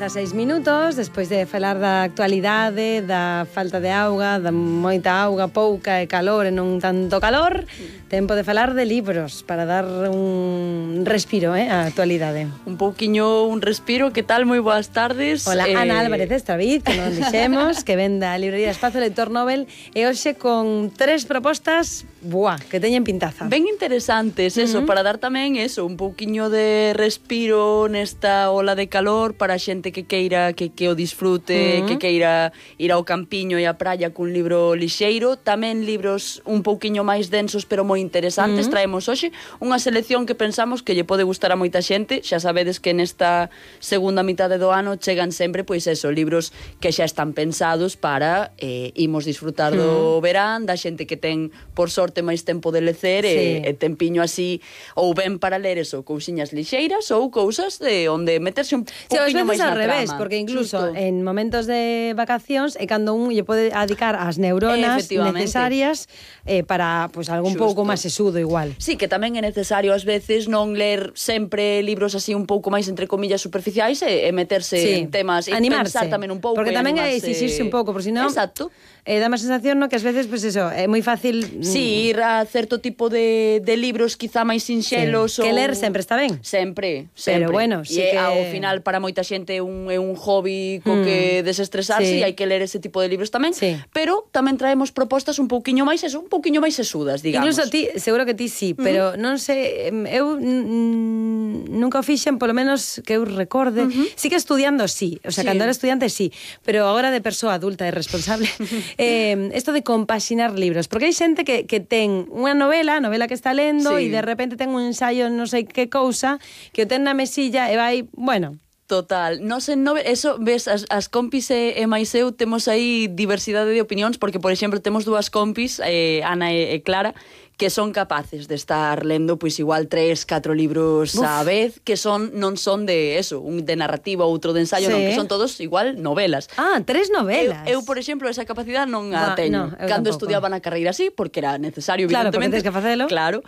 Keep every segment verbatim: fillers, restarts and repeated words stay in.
dezaseis minutos, despois de falar da actualidade, da falta de auga, da moita auga, pouca e calor e non tanto calor, tempo de falar de libros para dar un respiro, eh, á actualidade. Un pouquiño un respiro, que tal? Moi boas tardes. Hola, eh... Ana Álvarez Estraviz, que non dixemos, que ven da librería Espazo Lector Nobel, e hoxe con tres propostas, buah, que teñen pintaza. Ben interesantes, eso, uh -huh. para dar tamén eso, un pouquiño de respiro nesta ola de calor para a xente que queira que, que o disfrute, uh -huh. que queira ir ao campiño e á praia cun libro lixeiro, tamén libros un pouquiño máis densos pero moi interesantes. Uh -huh. Traemos hoxe unha selección que pensamos que lle pode gustar a moita xente. Xa sabedes que nesta segunda mitade do ano chegan sempre, pois eso, libros que xa están pensados para eh, imos disfrutar do uh -huh. verán, da xente que ten, por sorte, máis tempo de lecer, sí. e, e tempiño así, ou ben para ler eso, cousiñas lixeiras ou cousas de onde meterse un pouquinho máis na trama. Revés, porque incluso Justo. en momentos de vacacións é cando un lle pode adicar as neuronas necesarias eh, para pues, algún Justo. pouco máis sesudo igual. Sí, que tamén é necesario ás veces non ler sempre libros así un pouco máis entre comillas superficiais e, e meterse sí. en temas e animarse. pensar tamén un pouco. Porque tamén é exixirse un pouco, por si non... Exacto. Eh, dá má sensación, no, que ás veces, pues eso, é moi fácil... Sí, ir a certo tipo de, de libros quizá máis sinxelos. Sí. Que ou... ler sempre está ben. Sempre, sempre. Pero bueno, sí e que... ao final para moita xente é un, é un hobby co mm. que desestresarse, sí. e hai que ler ese tipo de libros tamén, sí. pero tamén traemos propostas un pouquiño máis eso, un pouquiño máis sesudas, digamos. Incluso ti, seguro que ti sí, pero uh -huh. non sei, eu nunca o fixen, polo menos que eu recorde. Uh -huh. Sí que estudiando sí, o sea, sí. cando era estudiante sí, pero agora de persoa adulta e responsable, eh, esto de compaxinar libros, porque hai xente que, que ten unha novela, novela que está lendo, e sí. de repente ten un ensayo non sei que cousa, que o ten na mesilla e vai, bueno... Total, nos en nove, eso, ves, as, as compis e, e máis eu temos aí diversidade de opinións, porque, por exemplo, temos dúas compis, eh, Ana e, e Clara, que son capaces de estar lendo pois igual tres, catro libros Uf. a vez, que son non son de eso, un de narrativa, outro de ensayo, sí. non, que son todos igual novelas. Ah, tres novelas. Eu, eu por exemplo, esa capacidade non a teño. No, Cando estudiaba na carreira así, porque era necesario, claro, evidentemente. Claro, porque tens que facelo. Claro,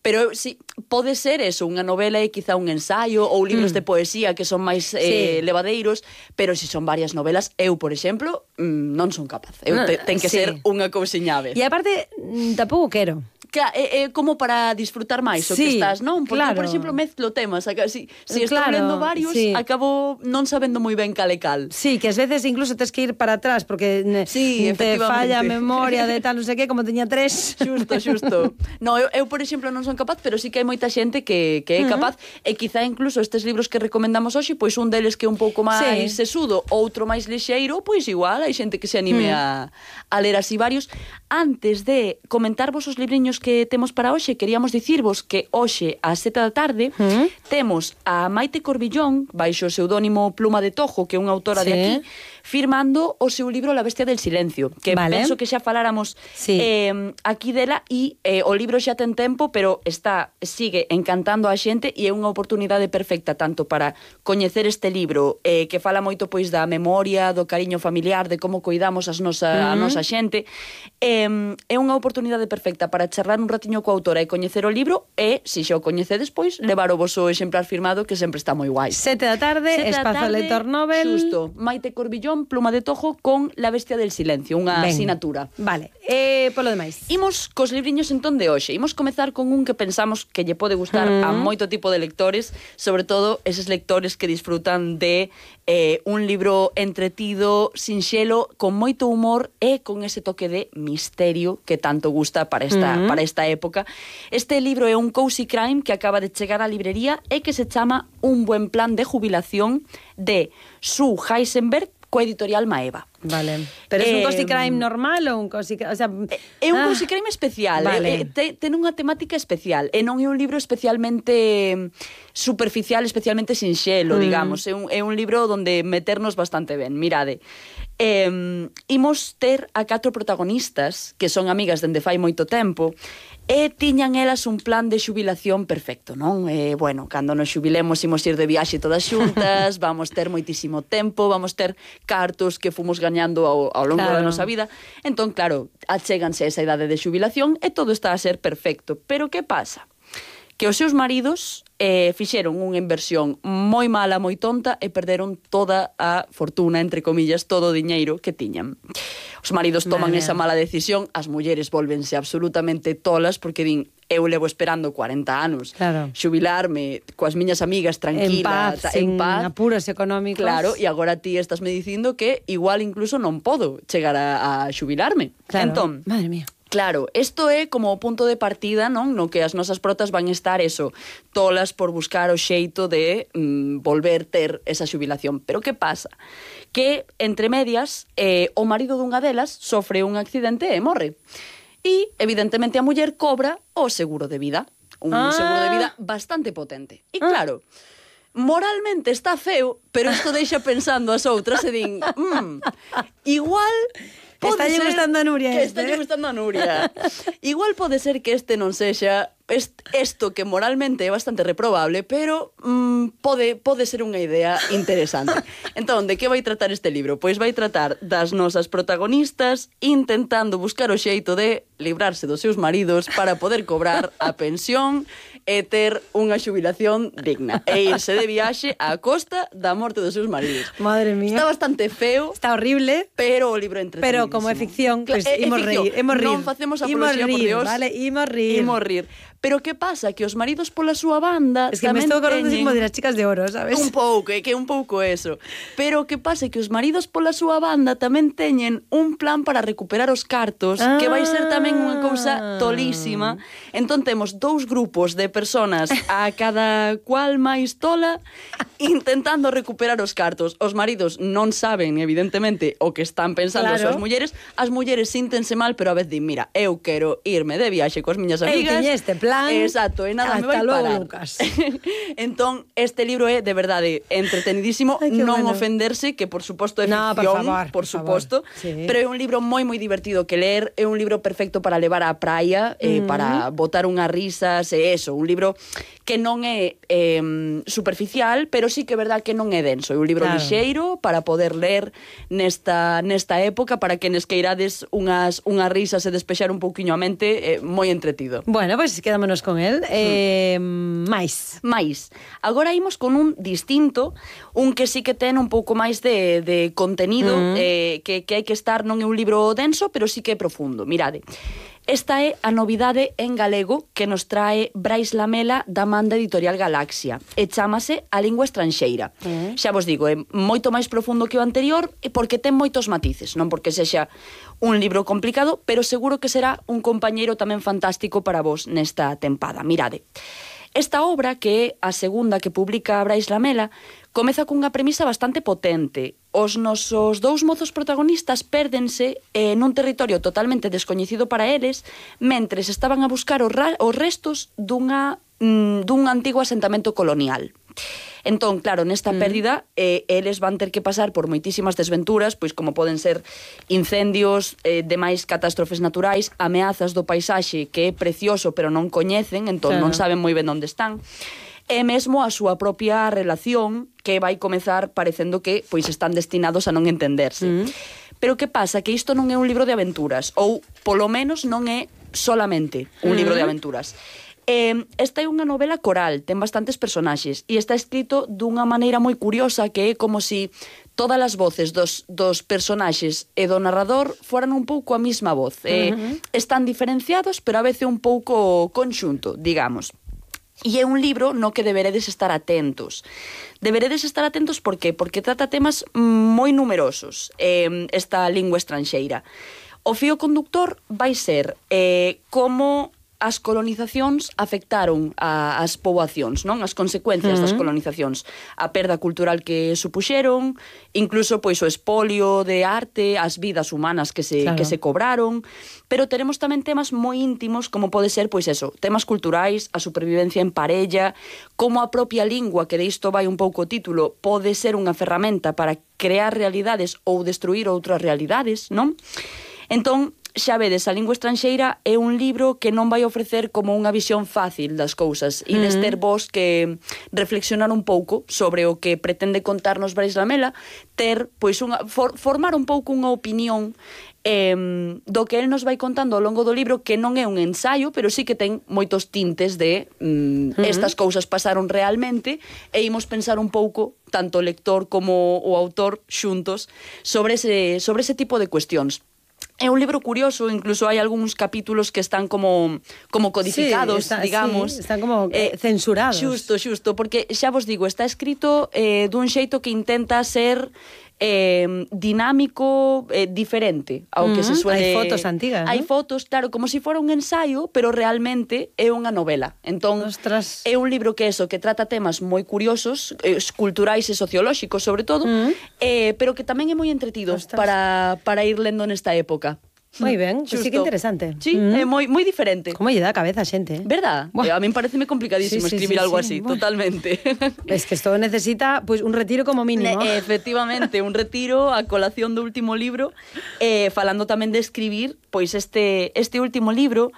pero sí, pode ser eso, unha novela e quizá un ensayo, ou libros mm. de poesía que son máis eh, sí. levadeiros, pero se si son varias novelas, eu, por exemplo, non son capaz. Eu no, te, ten que sí. ser unha cousiña a vez. E aparte, tampouco quero. Que é, é como para disfrutar máis o sí, que estás, non? Porque, claro. por exemplo, mezclo temas. Si, si estou claro, lendo varios, sí. acabo non sabendo moi ben cal e cal. Sí, que ás veces incluso tens que ir para atrás porque sí, te falla a memoria de tal, non sei que, como teña tres. Xusto, xusto. No, eu, eu, por exemplo, non son capaz, pero sí que hai moita xente que, que é capaz, uh -huh. e quizá incluso estes libros que recomendamos hoxe, pois un deles que é un pouco máis sí. sesudo, outro máis lixeiro, pois igual hai xente que se anime uh -huh. a, a ler así varios. Antes de comentarvos os libriños que temos para hoxe, queríamos dicirvos que hoxe ás sete da tarde uh -huh. temos a Maite Corbillón, baixo o pseudónimo Pluma de Tojo, que é unha autora sí. de aquí, firmando o seu libro La bestia del silencio, que vale. penso que xa faláramos sí. eh, aquí dela, e eh, o libro xa ten tempo, pero está sigue encantando a xente e é unha oportunidade perfecta tanto para coñecer este libro, eh, que fala moito pois da memoria, do cariño familiar, de como coidamos as nosa, uh -huh. a nosa xente. Eh, é unha oportunidade perfecta para charlar un ratiño coa autora e coñecer o libro e, se xa o coñecedes, pois, levar o voso exemplar firmado, que sempre está moi guai. Sete da tarde, Espazo Lector Nobel. Xusto, Maite Corbillón, Pluma de Tojo, con La bestia del silencio, unha asinatura. Vale, e polo demais. Imos cos libriños entón de hoxe. Imos comezar con un que pensamos que lle pode gustar mm. a moito tipo de lectores, sobre todo eses lectores que disfrutan de eh, un libro entretido, sinxelo, con moito humor e con ese toque de misterio que tanto gusta para esta, mm. para esta época. Este libro é un cozy crime que acaba de chegar á librería e que se chama Un buen plan de jubilación, de Sue Heisenberg, coa editorial Maeva. Vale. Pero é eh, un cozy crime normal ou un cozy crime, o sea, é un ah, cozy crime especial, vale. eh, te, ten unha temática especial, e non é un libro especialmente superficial, especialmente sinxelo, mm. digamos, é un, é un libro onde meternos bastante ben. Mirade, eh, imos ter a catro protagonistas que son amigas dende fai moito tempo, e tiñan elas un plan de xubilación perfecto, non? Eh, bueno, cando nos xubilemos imos ir de viaxe todas xuntas, vamos ter moitísimo tempo, vamos ter cartos que fomos gañando ao, ao longo claro. da nosa vida. Entón, claro, achéganse a esa idade de xubilación e todo está a ser perfecto. Pero que pasa? que os seus maridos eh, fixeron unha inversión moi mala, moi tonta e perderon toda a fortuna, entre comillas, todo o diñeiro que tiñan. Os maridos toman Vale. esa mala decisión, as mulleres volvense absolutamente tolas porque din, eu levo esperando cuarenta anos claro. xubilarme coas miñas amigas tranquila, en paz, ta, sin en paz. apuros económicos. Claro, e agora ti estás me dicindo que igual incluso non podo chegar a, a xubilarme. Claro. Entón, madre mía. claro, isto é como o punto de partida, non? No que as nosas protas van estar eso, tolas por buscar o xeito de mm, volver ter esa xubilación. Pero que pasa? Que, entre medias, eh, o marido dunha delas sofre un accidente e morre. E, evidentemente, a muller cobra o seguro de vida. Un ah. seguro de vida bastante potente. E claro, moralmente está feo, pero isto deixa pensando as outras e din, mm, igual... Está lle gustando a Nuria que este. Está lle gustando a Nuria. Igual pode ser que este non sexa isto que moralmente é bastante reprobable, pero mm, pode, pode ser unha idea interesante. Entón, de que vai tratar este libro? Pois vai tratar das nosas protagonistas intentando buscar o xeito de librarse dos seus maridos para poder cobrar a pensión e ter unha xubilación digna e irse de viaxe á costa da morte dos seus maridos. Madre mía. Está bastante feo. Está horrible. Pero o libro é entretenidísimo. Pero como é ficción, pues, é, é imos ficción. reír, imos rir. Non facemos Imos apoloxía, por rir, Dios. vale, imos rir. Imos rir. Pero que pasa? Que os maridos pola súa banda Es que me tamén estou acordando teñen... como de las chicas de oro, sabes? Un pouco, é que é un pouco eso. Pero que pasa? Que os maridos pola súa banda tamén teñen un plan para recuperar os cartos, ah. que vai ser tamén unha cousa tolísima. Entón temos dous grupos de personas a cada cual máis tola intentando recuperar os cartos. Os maridos non saben, evidentemente, o que están pensando claro. as mulleres. As mulleres síntense mal, pero a vez din, mira, eu quero irme de viaxe coas miñas amigas. Eu este plan. Exacto, e nada Hasta me vai luego, parar. Lucas. Entón, este libro é de verdade entretenidísimo. Ay, non bueno. ofenderse, que por suposto é no, ficción, por, favor, por, por suposto, sí. pero é un libro moi moi divertido que ler, é un libro perfecto para levar á praia, eh, mm. para botar unhas risas, e eso, un libro que non é eh, superficial, pero sí que é verdad que non é denso, é un libro claro. lixeiro para poder ler nesta nesta época, para que nes queirades unhas unhas risas e despexar un pouquiño a mente, eh, moi entretido. Bueno, pois pues, quedámonos con el. Eh, mm. máis. máis. Agora imos con un distinto, un que sí que ten un pouco máis de, de contenido, mm. eh, que, que hai que estar, non é un libro denso, pero sí que é profundo. Mirade, esta é a novidade en galego que nos trae Brais Lamela da Manda Editorial Galaxia e chámase A Lingua Estranxeira. Mm. Xa vos digo, é moito máis profundo que o anterior e porque ten moitos matices, non porque sexa un libro complicado, pero seguro que será un compañeiro tamén fantástico para vos nesta tempada. Mirade, esta obra, que é a segunda que publica Brais Lamela, comeza cunha premisa bastante potente. Os nosos dous mozos protagonistas pérdense eh, nun territorio totalmente descoñecido para eles, mentres estaban a buscar os, os restos dunha, mm, dun antigo asentamento colonial. Entón, claro, nesta mm. pérdida eh, eles van ter que pasar por moitísimas desventuras, pois como poden ser incendios, eh, demais catástrofes naturais, ameazas do paisaxe que é precioso pero non coñecen, entón claro. non saben moi ben onde están, e mesmo a súa propia relación que vai comezar parecendo que pois están destinados a non entenderse. Mm. Pero que pasa? Que isto non é un libro de aventuras, ou polo menos non é solamente un mm. libro de aventuras. Eh, esta é unha novela coral, ten bastantes personaxes e está escrito dunha maneira moi curiosa, que é como si todas as voces dos, dos personaxes e do narrador foran un pouco a mesma voz. Eh, uh-huh. Están diferenciados, pero a veces un pouco conxunto, digamos. E é un libro no que deberedes estar atentos. Deberedes estar atentos por qué? Porque trata temas moi numerosos, eh, esta lingua estranxeira. O fío conductor vai ser eh, como as colonizacións afectaron a, as poboacións, non? As consecuencias uh-huh. das colonizacións, a perda cultural que supuxeron, incluso pois o espolio de arte, as vidas humanas que se claro. que se cobraron, pero teremos tamén temas moi íntimos, como pode ser pois eso, temas culturais, a supervivencia en parella, como a propia lingua, que de isto vai un pouco o título, pode ser unha ferramenta para crear realidades ou destruir outras realidades, non? Entón, xa vedes, A Lingua Estranxeira é un libro que non vai ofrecer como unha visión fácil das cousas e des ter vos que reflexionar un pouco sobre o que pretende contarnos Brais Lamela, ter, pois, unha, for, formar un pouco unha opinión eh, do que el nos vai contando ao longo do libro, que non é un ensaio, pero sí que ten moitos tintes de mm, uh-huh. estas cousas pasaron realmente, e imos pensar un pouco, tanto o lector como o autor xuntos, sobre ese, sobre ese tipo de cuestións. É un libro curioso, incluso hai algúns capítulos que están como como codificados, sí, está, digamos. Sí, están como eh, censurados. Xusto, xusto, porque xa vos digo, está escrito eh, dun xeito que intenta ser eh, dinámico, eh, diferente ao uh-huh. que se suele... Hai fotos antigas, Hai ¿no? fotos, claro, como se si fora un ensaio, pero realmente é unha novela. Entón, Ostras. é un libro que eso, que trata temas moi curiosos, eh, culturais e sociolóxicos, sobre todo, uh-huh. eh, pero que tamén é moi entretido para, para ir lendo nesta época. Moi ben, pues sí que interesante. Sí, mm. é moi moi diferente. Como lle dá a cabeza a xente, eh? Verdad? Eh, a min pareceme complicadísimo sí, sí, escribir sí, algo sí. así, bueno. Totalmente. Es que isto necesita pues un retiro como mínimo. Ne, efectivamente, un retiro a colación do último libro, eh, falando tamén de escribir, pois este este último libro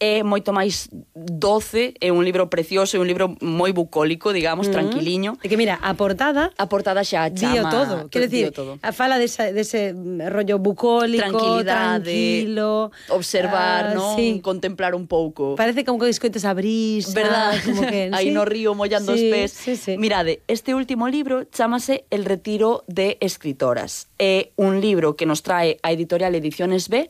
é moito máis doce, é un libro precioso, é un libro moi bucólico, digamos, mm. tranquiliño. E que mira, a portada... A portada xa chama... Dío todo, quero dicir, fala dese, dese rollo bucólico, tranquilo... Observar, uh, non? Sí. Contemplar un pouco. Parece como que escoites a brisa... Verdad? Como que, aí sí. no río mollando sí, os pés. Sí, sí. Mirade, este último libro chámase El retiro de escritoras. É un libro que nos trae a editorial Ediciones B,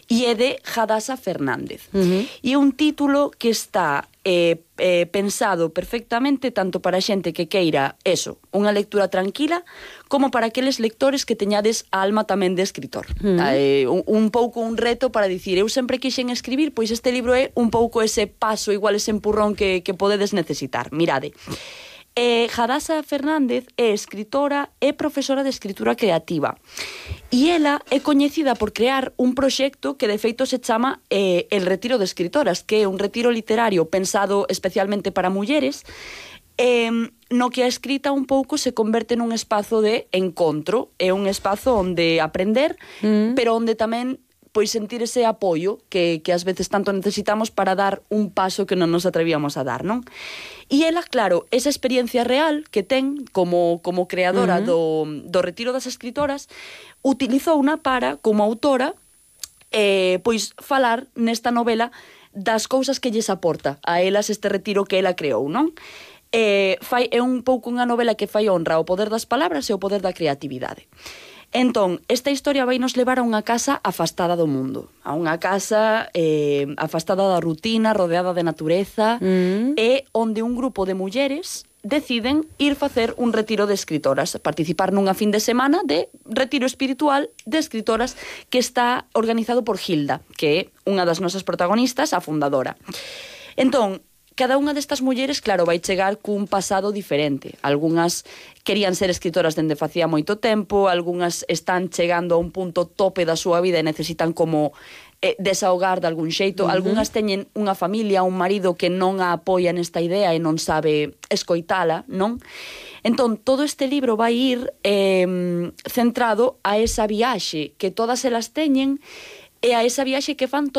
e é de Hadasa Fernández. Uh-huh. E é un título que está eh, eh, pensado perfectamente tanto para a xente que queira eso, unha lectura tranquila, como para aqueles lectores que teñades a alma tamén de escritor. Uh-huh. Eh, un, un pouco un reto para dicir, eu sempre quixen escribir, pois este libro é un pouco ese paso, igual ese empurrón que, que podedes necesitar. Mirade, Eh, Hadasa Fernández é escritora e profesora de escritura creativa, e ela é coñecida por crear un proxecto que de feito se chama eh, El retiro de escritoras, que é un retiro literario pensado especialmente para mulleres, eh, no que a escrita un pouco se converte nun espazo de encontro, é un espazo onde aprender, mm. pero onde tamén pois sentir ese apoio que, que ás veces tanto necesitamos para dar un paso que non nos atrevíamos a dar, non? E ela, claro, esa experiencia real que ten como, como creadora uh-huh. do, do retiro das escritoras, utilizou unha para, como autora, eh, pois falar nesta novela das cousas que lles aporta a elas este retiro que ela creou, non? Eh, fai, é un pouco unha novela que fai honra ao poder das palabras e ao poder da creatividade. Entón, esta historia vai nos levar a unha casa afastada do mundo, a unha casa eh, afastada da rutina, rodeada de natureza, mm. e onde un grupo de mulleres deciden ir facer un retiro de escritoras, participar nunha fin de semana de retiro espiritual de escritoras que está organizado por Hilda, que é unha das nosas protagonistas, a fundadora. Entón, cada unha destas mulleres, claro, vai chegar cun pasado diferente. Algúnas querían ser escritoras dende facía moito tempo, algúnas están chegando a un punto tope da súa vida e necesitan como eh, desahogar de algún xeito. Uh-huh. Algúnas teñen unha familia, un marido que non a apoia nesta idea e non sabe escoitala, non? Entón, todo este libro vai ir eh, centrado a esa viaxe que todas elas teñen e a esa viaxe que fan todas